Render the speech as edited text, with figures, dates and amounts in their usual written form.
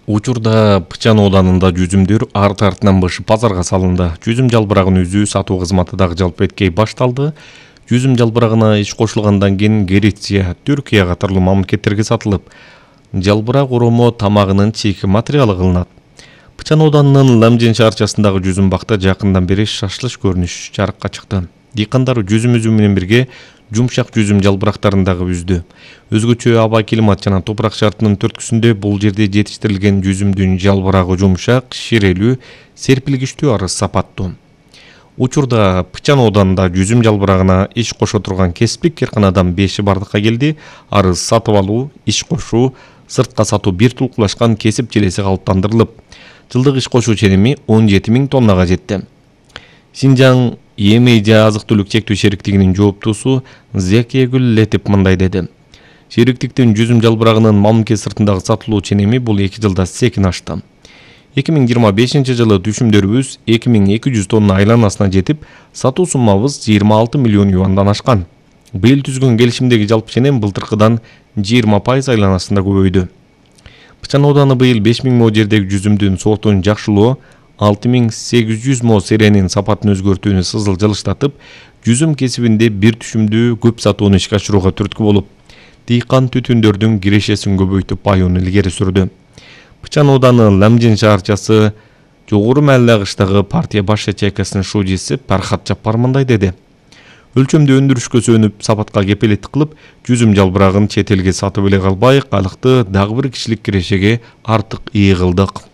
Учурда Пычан ооданында жүзүмдөр арты-артынан бышып базарга салынды. Жүзүм жалбырагын үзүү сатуу кызматы дагы жалпы эткей башталды. Жүзүм жалбырагына иш кошулгандан кийин Греция, Түркия катарлуу мамлекеттерге сатылып, жалбырак уруму тамагынын чийки материалы кылынат. Пычан ооданынын Ламжин шаарчасындагы жүзүм бакта жакындан бери шашлыш көрүнүш жарыкка чыкты. Дыйкандар жүзүм үзүү менен бирге жумшак жүзүм жалбырактарын дагы үздү. Өзгөчө аба климат жана топурак шартынын түрткүсүндө бул жерде жетиштирилген жүзүмдүн жалбырагы жумшак, ширелүү, серпилгичтүү арыз сапаттуу. Учурда Пычан ооданында жүзүм жалбырагына иш кошо турган кесиптик карканадан 5 бардыкка келди. Арыз сатып алуу, иш кошуу, сыртка сатуу бир тулкулашкан кесип желеси калыптандырылып, жылдык иш кошуу ченеми 17 000 тоннага жетти. Синжаң Емей азык-түлүк чектүү шериктигинин жооптуусу Зекегүл Летип мындай деди. Шериктиктин жүзүм жалбырагынын мамлекет сыртындагы сатылуу ченеми бул 2 жылда секин ашты. 2025 жылы түшүмдөрүбүз 2200 тонна айланасына жетип, сатуу суммабыз 26 миллион юандан ашкан. Быйыл түзгөн келишимдеги жалпы ченем былтыркыдан 20% айланасында көбөйдү. Пычан ооданы быйыл 5000 мо жердеги жүзүмдүн сортун жакшылоо, 6800 мо серенин сапатын өзгөртүүнү сызыл жылыштатып, жүзүм кесибинде бир түшүмдүү көп сатууну ишке ашырууга түрткү болуп, дыйкан түтүндөрдүн кирешесин көбөйтүп баюуну илгери сүрдү. Пычан ооданы Ламжин шаарчасы Жогору Майлы агыштагы партия баш ячейкасынын шужиси Пархат Жаппар мындай деди. Өлчөмдү өндүрүшкө сөнүп, сапатка кепелеттик кылып, жүзүм жалбырагын чет элге сатып эле калбай, калыкты дагы бир кишилик кирешеге артык ээ кылдык.